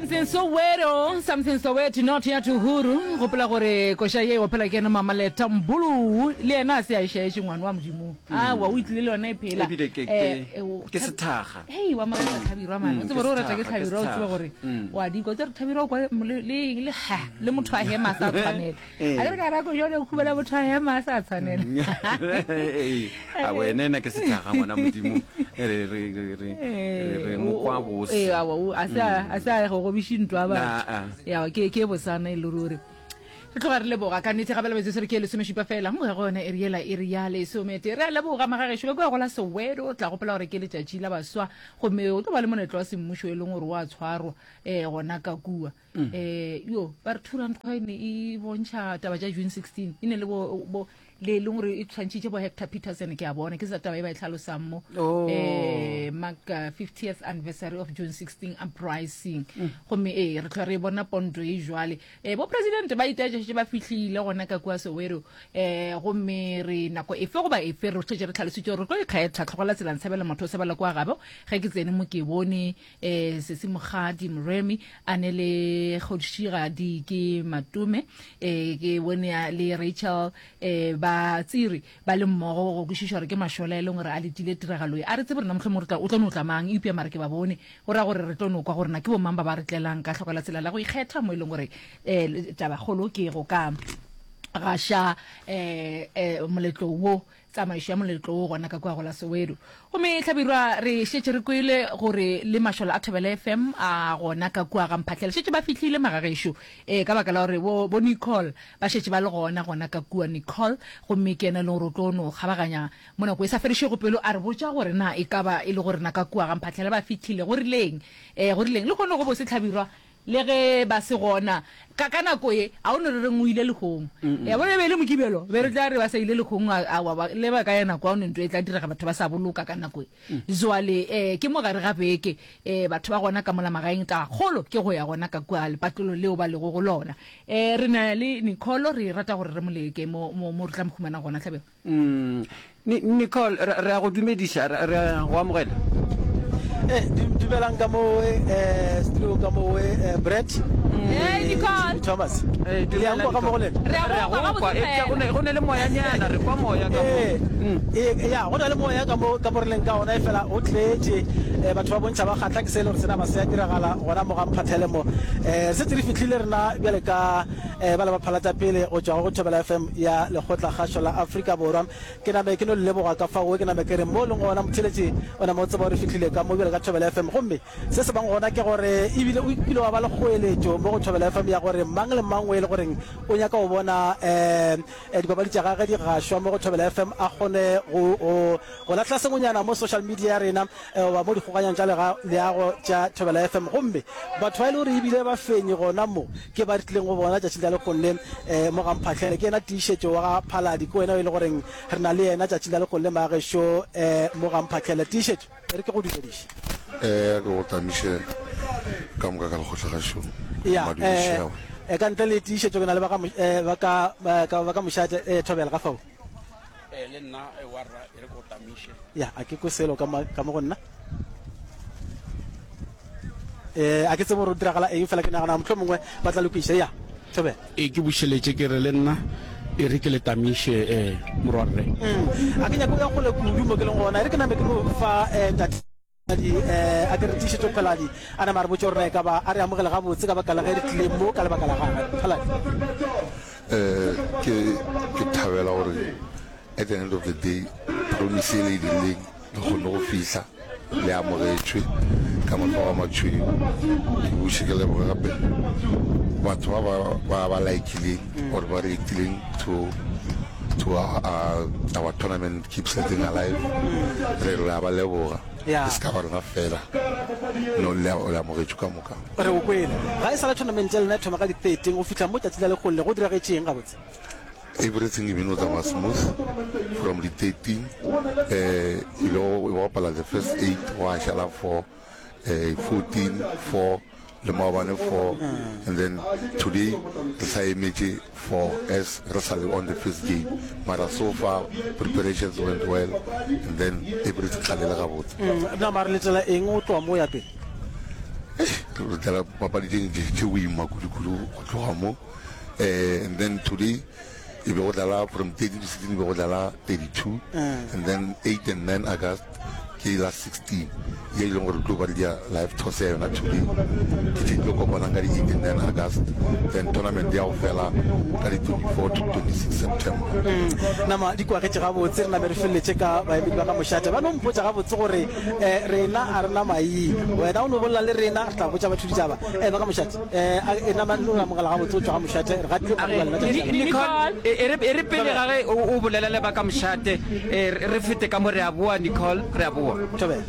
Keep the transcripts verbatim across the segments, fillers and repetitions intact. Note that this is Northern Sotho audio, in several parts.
Something Soweto, something Soweto, not ya Tuhuru. Gopola gore koša ye o phela ke ena Mama Leta Mbulu, le yena a se a e šaetše ngwana wa Modimo. Awa, o itlile le yona e phela. Ebile ke- Eh, ke- eh, o- ke sethakga. Hei, wa morata Thabirwa man. Mm, O tsebe ke gore o rata ke sethakga, ke Hlabirwa, o tsebe sethakga. gore Mm. wa di kwa. O tsebe gore Thabirwa o kwa le le le ha le motho a hema a sa tshwanela. Eh. A ke re ka nako jwale o khubela motho a hema a sa tshwanela. Ee, a wena ena ke sethakga ngwana Modimo. Re re re re re re mo kwa bose. Ee, awa, o- a se a a se a go gobiše ntwa Na, batho. a. Ya, ke ke bosana e le ruri. Re tloga re leboga ka nnete gape metsotso re ke lesomešupa fela mo go yona iri yela iri ya lesomete. Re a leboga magagešo ka kua go la Soweto. O tla gopola gore ke letšatši la baswa, gomme o tlo ba le moletlo wa semmušo e leng gore wa tshwarwa um gona ka kua. um yo ba re two rand coin e bontšha taba tša June sixteen, e ne le bo, bo le e leng gore e tshwantšhitše bo Hector Peterson. Ke a bona ke sa taba e ba e tlhalosang mo. Oh. um mark uh, fiftieth anniversary of June sixteen uprising. Gomme ee, re tlhola re bona ponto e jwale. um bo president ba itaetšešetše ba fihlile gona ka kua Soweto. um gomme re nako efe goba efe re šetše re tlhalositše gore re tlo ikgetha tlhogola tsela ntshebela motho o sebela kwa gabo. Ge ke tsene mo ke bone um Sesi Mogadi Moremi a ne le Kgošigadi ke Matome, um ke bone a le Rachel um ba Tsiri ba le mmogo go kwešiša gore ke mašola e leng gore a letile tiragalo e. A re tsebe rena mohlomong re tla o tlo no tla mang, eupša mare ke ba bone go raya gore re tlo no kwa gore na ke bo mang ba ba re tlelang ka tlhoka la tsela la go ikgetha mo e leng gore um tabakgolo ke go ka gaša um um moletlo wo, tsamaišo ya moletlo wo gona ka kua go la Soweto. Gomme Hlabirwa, re šetše re kwele gore le mašola a Thobela F M a gona ka kua ga Mphahlele šetše ba fihlile magagešo, um ka baka la gore bo, bo Nicole ba šetše ba le gona gona ka kua. Nicole gomme ke yena e leng gore o tlo no kgabaganya mo nako e sa fedišego pelo a re botša gore na e ka ba e le gore na ka kua ga Mphahlele ba fihlile go rileng, um go rileng le kgone go bose Hlabirwa le ge ba se gona ka ka nako e a o no re reng o ile lekgong ya bona e be e le Mokibelo be re tla re ba sa ile lekgong a wa ba le ba ka ya nako a o ne ntho e tla direga batho ba sa boloka ka nako e. Jwale um ke mo gare ga beke, um batho ba gona ka mola magaeng tabakgolo ke go ya gona ka kua lepatlelo leo ba lego go lona. um re na le Nicole, re rata gore re mo leke mo mo mo re tla mo humanang gona Hlabirwa. Mm. Ni- Nicole, re re a go dumediša, re re a go amogela. Eh, du- dumelang ka moo, eh, studio ka moo, eh, Brett Hey, Nicole. Thomas. Eh, Le a dumela, nkwa ka mo go Nicole. lena? Re a Re a go kwa go kwa, gabotse eupša go fela. ne go ne le moyanyana, re kwa moya ka mo. Eh, Mm. eh, ya go na le moya ka mo ka mo re leng ka gona, e fela o tletše. eh, batho ba bontšha ba kgatla ke se e le gore sena ba se a diragala gona mo ga Mphahlele mo. eh re setse re fihlile rena bjale ka eh ba le ba phalata pele go tšwa go Thobela F M ya Lekgotla Kgašo la Afrika Borwa. Ke name ke no le leboga ka fao, ke name ke re mo leng gona motheletši o name o tseba gore fihlile ka mo bjale ka Thobela F M. Gomme se se bang gona ke gore ebile o kile wa ba le kgoeletšo mo go Thobela F M ya gore mang le mang o e le goreng o nyaka go bona um dipapadi tša gage di gašwa mo go Thobela F M a kgone go go go lahla sengwenyana mo social media ya rena goba mo dikgokanyang tša leago tša Thobela F M. Gomme batho ba e le gore ebile ba fenyi gona mo ke ba re tlileng go bona tšatšing la lekgong le um mo ga Mphahlele, ke yena Tiišetšo wa ga Phaladi, ke wena o e le goreng re na le yena tšatšing la lekgong le magešo um mo ga Mphahlele. Tiišetšo, e re ke go dumediše. Eh, ke go tamiše ka moka ka lekgotlagašong. Ya, Madumišego. eh, ka ntle le Tiišetšo ke na le ba ga Mo- eh, ba ka ba ka ba ka mošate, eh, Thobela ka fao. Eh, le nna eh, warra e re ko tamiše. Ya, a ke kwe selo ka mo ka mo go nna. Eh, a ke tsebe gore o diragala eng, fela ke nagana mohlomongwe mongwe ba tla lokiša. Ya, Thobela. E ke bušeletše ke re le nna e re ke le tamiše eh morwarre. Mm. A ke nyake go ya kgole kudu mo ke leng gona, e re ke name ke no fa eh, tate eh, a ke re Tiišetšo Pheladi a nama re botše gore na e ka ba a re amogele gabotse ka baka la ge re tlile mo ka lebaka la gagwe. Pheladi. Eh, ke ke thabela gore at the end of the day promise e le e dirileng le kgonne go fihla le amogetšwe ka matsogo a matšhweu. Ke buše ke leboge gape batho ba ba ba ba likileng or ba ratileng to to our, uh, our tournament Keep Something Alive. Re re a ba leboga. Ya. E se ka ba rena fela, no le le amogetšwe ka moka. Re o kwele. Ga e sa le tournament ya lena e thoma ka di thirteen go fihla mo tšatši la lekgolo le go diragetšeng gabotse? Everything e been o tsamaya smooth from the thirteen, eh ile go bapala the first eight, gwa šala four, eh fourteen four le maobane four, and then today re sa emetše four as re sa le on the first game. Mara so far preparations went well and then everything tlalele gabotse. Mm, na mare letela eng o tloa mo ya pele? Re dlala papadi tše ntši tše boima kudu-kudu go tloga mo. Eh, and then today e be go dlala from thirteen to sixteen, e be go dlala thirty-two, and then eight and nine August ke la sixteen ye e leng gore re tlo ba le dia live toss ya yona today. Ke tše di tlo kopanang ka di eight and nine August, then tournament ya go fela ka di twenty-four to twenty-six September. Nama di kwagetše gabotse, re name re feleletše ka baemedi ba ka mošate. Ba no mpotša gabotse gore um rena a re na maina, wena o no bolela le rena, re tla botša batho ditaba. Um ba ka mošate, um nama no re amogela gabotse go tšwa ga mošate, re gatile go bua lena tšatši la Nicole, e re e re pele ga ge o o bolela le ba ka mošate, e re fete ka mo, re a boa Nicole, re a boa. Thobela.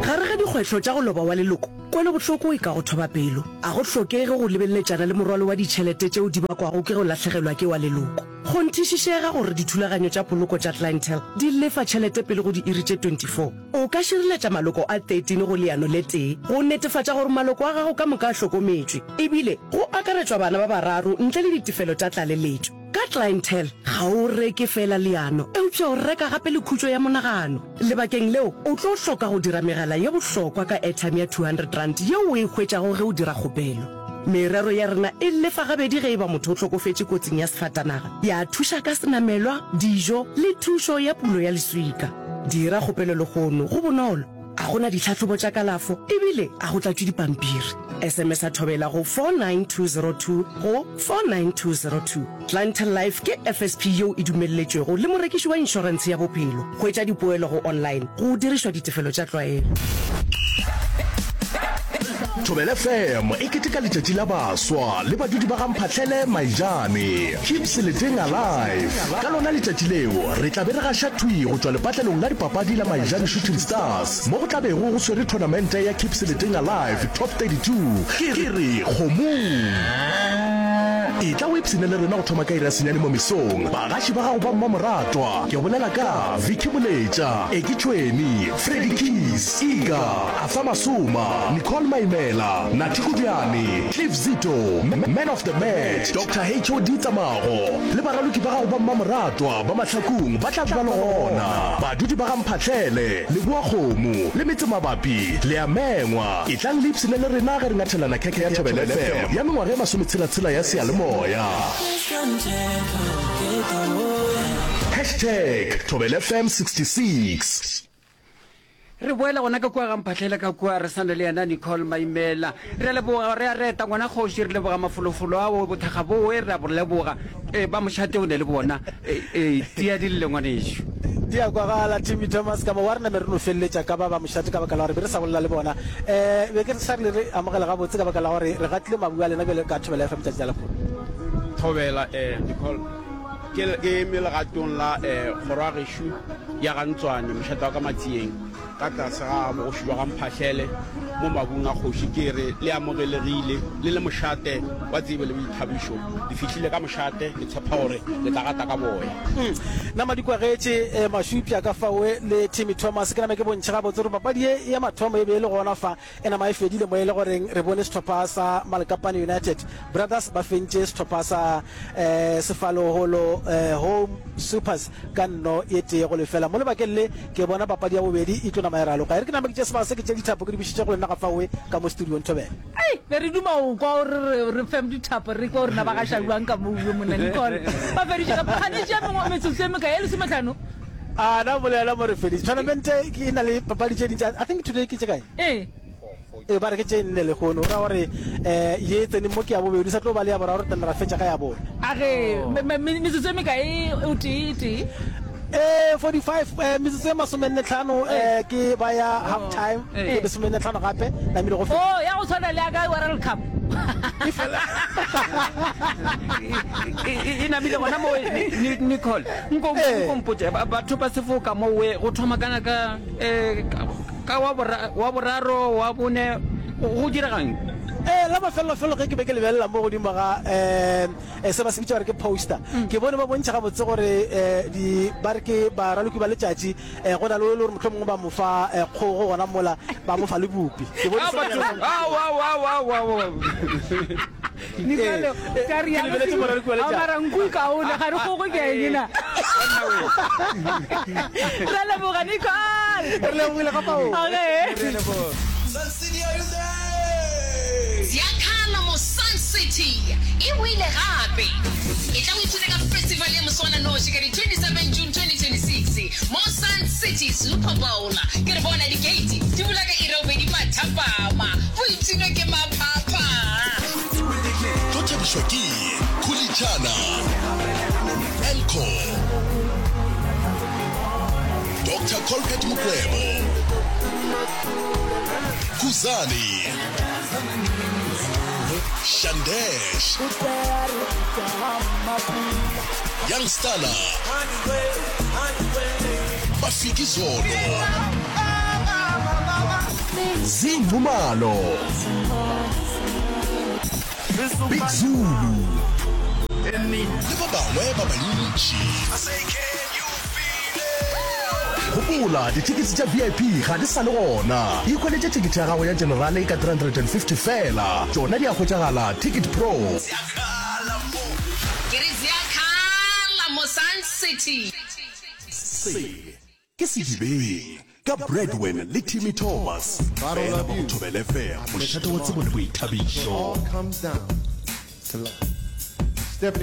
Gare ga dikgwetlho tša go loba wa leloko, kwelobohloko e ka go thoba pelo. A go hlokege go lebeleletšana le morwalo wa ditšhelete tšeo di bakwago ke go lahlegelwa ke wa leloko. Kgonthišišega gore dithulaganyo tša poloko tša Clientele di lefa tšhelete pele go diiri tše twenty-four. O ka šireletša maloko a thirteen go leano le tee go netefatša gore maloko a gago ka moka a hlokometšwe, ebile go akaretšwa bana ba bararo ntle le ditefelo tša tlaleletšo. Ka Clientele, ga o reke feela leano, eupša o reka gape le khutšo ya monagano. Lebakeng leo, o tlo hloka go dira megala ye bohlokwa ka airtime ya two hundred rand yeo o e hwetšago ge o dira kgopelo. Merero ya rena e lefa gabedi ge e ba motho o hlokofetše kotsing ya sefatanaga, ya thuša ka senamelwa, dijo le thušo ya pulo ya leswika. Dira kgopelo lehono, go bonolo, ga go na ditlhahlobo tša kalafo ebile ga go tlatšwe dipampiri. S M S a Thobela go four nine two zero two go four nine two zero two. Clientele Life ke F S P yeo e dumelletšwego le morekiši wa inšorentshe ya bophelo. Hwetša dipoelo go online go dirišwa ditefelo tša tlwaelo. Thobela F M e keteka letšatši la baswa le badudi ba ga Mphahlele Maijane. Keep Seleteng alive. Ka lona letšatši leo re tla be re gaša thwi go tšwa lepatlelong la dipapadi la Maijane Shooting Stars mo go tla bego go swere thonamente ya Keep Seleteng Alive Top thirty-two. Ke re kgomong. Etla o ipshine le rena go thoma ka iri ya senyane mo mesong. Bagaši ba gago ba mmamoratwa, ke bolela ka Vicky Moletša, Eki Tšhweni, Freddy Keys, Iga, Arthur Masoma, Nicole Maimela, Nathi Kodiane, Cliff Zito, Man of the Match, Doctor H O D Tsamago, le baraloki ba gago ba mmamoratwa ba Mahlakung ba tla be ba le gona. Badudi ba ga Mphahlele, Leboakgomo, le metsemabapi, le a mengwa. Etlang le ipshine le rena ge re ngathelana khekhe ya Thobela F M ya mengwaga e masometshela-tshela ya seyalemoya. Hashtag Thobela F M sixty-six. Re boela gona ka kua ga Mphahlele ka kua, re sa na le yena Nicole Maimela. Re a leboga, re a reta ngwana kgoši, re leboga mafolofolo ao, bothakga bowe, re a bo leboga. E, ba mošate o ne le bona. E, e, tia di lle ngwanešu. Di a kwagala, Timmy Thomas, ka mo wa rena be re no feleletša ka ba ba mošate ka baka la gore be re sa bolela le bona. E, be ke re sa re le re amogele gabotse ka baka la gore re gatile mabu a lena bjale ka Thobela F M tšatši la lehono. Thobela, e, Nicole, ke, ke eme legatong la, e, kgoro ya gešo ya ga Ntswane, mošate wa ka Matsieng, ka tlase ga bogoši bja ga Mphahlele mo mabung a kgoši. Ke re le amogelegile le le mošate wa tsebo le boithabišo. Le fihlile ka mošate, ke tshepa gore le tla gata ka boya. Mm. Nama di kwagetše mašupša ka fawe le Timmy Thomas. Ke nama ke bontšhe gabotse gore papadi ye ya mathomo e be e le gona fa e nama e fedile mo e le goreng re bone sehlopha sa Malekapane United Brothers ba fentše sehlopha sa eh, Sefaloholo eh, Home Supers ka nno e tee go lefela. Mo lebakeng le ke bona papadi ya bobedi e tlo nama e raloka. E re ke nama ke tše sebaka se ke tše dithapo ke di bušetše go lena ga fawe ka mo studiong Thobela. Ai, be re duma go kwa gore re re fem dithapo re kwa gore na ba gaša bjang ka mo uwe monna Nicole. Ba feditše ka kganetše ya mengwe metsotso e mekae e lesometlhano. A na bolela mo re feditše. Tournament e na le papadi tše dintši. I think today ke tše kae? Ee. E ba re ke tše nne lehono. O ra gore eh ye tsene mo ke ya bobedi, sa tlo ba le ya boraro, re tla ra fetša ka ya bone. A ge metsotso e mekae o tee e tee? Eh forty-five eh metsotso e masomenne tlhano eh ke ba ya half time, ke lesomenne tlhano gape namile go feta. Oh, ya go tshwana le ya ka World Cup. E namile gona mo Nicole. Nko nko mpotše batho ba sefoka mo we go thoma kana ka eh ka wa wa boraro wa bone go diregang? Eh la mafelelo-felo ge ke be ke lebelela mo godimo ga eh se ba se bitša gore ke poster, ke bone ba bontšha gabotse gore eh di ba re ke baraloki ba letšatši, eh go na le o le gore mohlomongwe ba mo fa kgogo gona mola ba mo fa le bupi. Ke bone se Nicole, ka re ya mara nku kaone ga re kgogo ke eng na. Re leboga Nicole. Re lebogile ga pao. Okay. Sun City, are you there? boile gape. Etla o ipshine ka festival ya moswananoši ka di twenty seven June twenty twenty six mo Sun City Super Bowl. Ke re bona di-gate di bula ka iri ya bobedi mathapama. Boipshino ke maphapha. Tlo thabišwa ke Khulitšana, Elco, Doctor Colbert Mokwebo, Khuzani, Shandesh, Young Stunna, Mafikizolo, Zinxumalo, Big Zulu le ba bangwe ba bantši. Gopola, dithekete tša V I P ga di sa le gona. Ikhweletše thekete ya gago ya generale ka three hundred and fifty feela. Tšona di a hwetšagala Ticket Pro. Ke re ziakhala mo Sun City. Se ke Sedibeng ka Bradwin le Timmy Thomas, fela mo go Thobela F M, mošate wa tsebo le boithabišo. Stephanie